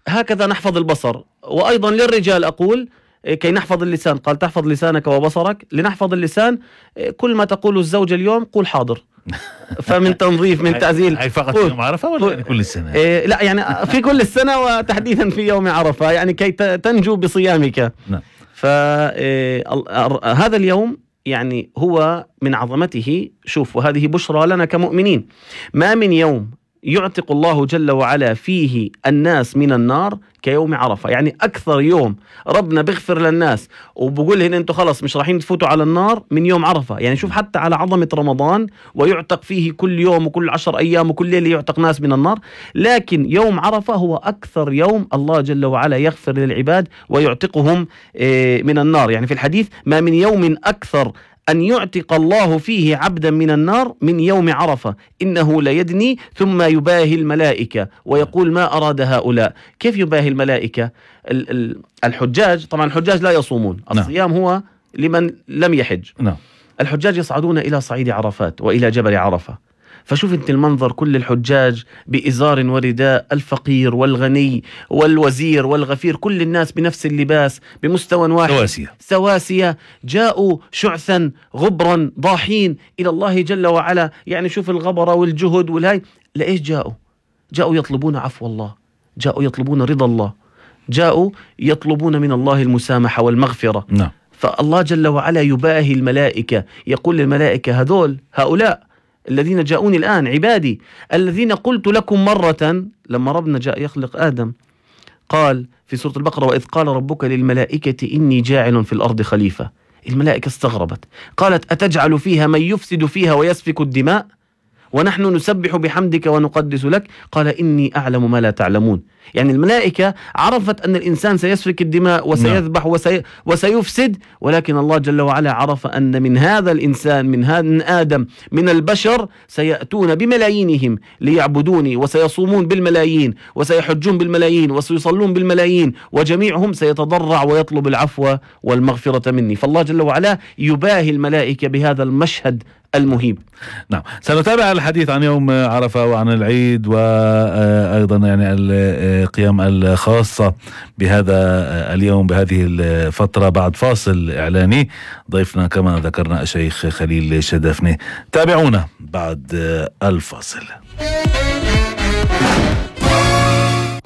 هكذا نحفظ البصر. وأيضا للرجال أقول كي نحفظ اللسان، قال تحفظ لسانك وبصرك. لنحفظ اللسان كل ما تقول الزوجة اليوم قول حاضر. فمن تنظيف من تعزيل. هاي فقط في يوم عرفة ولا يعني كل السنة؟ لا يعني في كل السنة وتحديدا في يوم عرفة، يعني كي تنجو بصيامك. نعم. فهذا اليوم يعني هو من عظمته. شوف، وهذه بشرى لنا كمؤمنين، ما من يوم يعتق الله جل وعلا فيه الناس من النار كيوم عرفة. يعني أكثر يوم ربنا بيغفر للناس وبقول هنا أنتوا خلص مش رايحين تفوتوا على النار من يوم عرفة. يعني شوف حتى على عظمة رمضان ويعتق فيه كل يوم وكل 10 أيام وكل ليلة يعتق ناس من النار، لكن يوم عرفة هو أكثر يوم الله جل وعلا يغفر للعباد ويعتقهم من النار. يعني في الحديث ما من يوم أكثر أن يعتق الله فيه عبدا من النار من يوم عرفة، إنه ليدني ثم يباهي الملائكة ويقول ما أراد هؤلاء. كيف يباهي الملائكة؟ الحجاج، طبعا الحجاج لا يصومون، الصيام هو لمن لم يحج. الحجاج يصعدون إلى صعيد عرفات وإلى جبل عرفة. فشوف انت المنظر، كل الحجاج بإزار ورداء، الفقير والغني والوزير والغفير، كل الناس بنفس اللباس بمستوى واحد، سواسية، جاءوا شعثا غبرا ضاحين إلى الله جل وعلا. يعني شوف الغبرة والجهد والهاي، لإيش جاءوا يطلبون عفو الله، جاءوا يطلبون رضا الله، جاءوا يطلبون من الله المسامحة والمغفرة. فالله جل وعلا يباهي الملائكة، يقول للملائكة هؤلاء الذين جاءوني الآن عبادي الذين قلت لكم مرة. لما ربنا جاء يخلق آدم قال في سورة البقرة وإذ قال ربك للملائكة إني جاعل في الأرض خليفة. الملائكة استغربت، قالت أتجعل فيها من يفسد فيها ويسفك الدماء ونحن نسبح بحمدك ونقدس لك؟ قال إني أعلم ما لا تعلمون. يعني الملائكة عرفت أن الإنسان سيسفك الدماء وسيذبح وسيفسد، ولكن الله جل وعلا عرف أن من هذا الإنسان، من آدم، من البشر سيأتون بملايينهم ليعبدوني، وسيصومون بالملايين وسيحجون بالملايين وسيصلون بالملايين، وجميعهم سيتضرع ويطلب العفو والمغفرة مني. فالله جل وعلا يباهي الملائكة بهذا المشهد المهيب. نعم، سنتابع الحديث عن يوم عرفة وعن العيد وأيضا يعني القيام الخاصة بهذا اليوم بهذه الفترة بعد فاصل إعلاني. ضيفنا كما ذكرنا الشيخ خليل شدفني. تابعونا بعد الفاصل.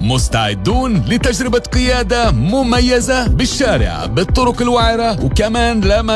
مستعدون لتجربة قيادة مميزة بالشارع بالطرق الوعرة وكمان لمس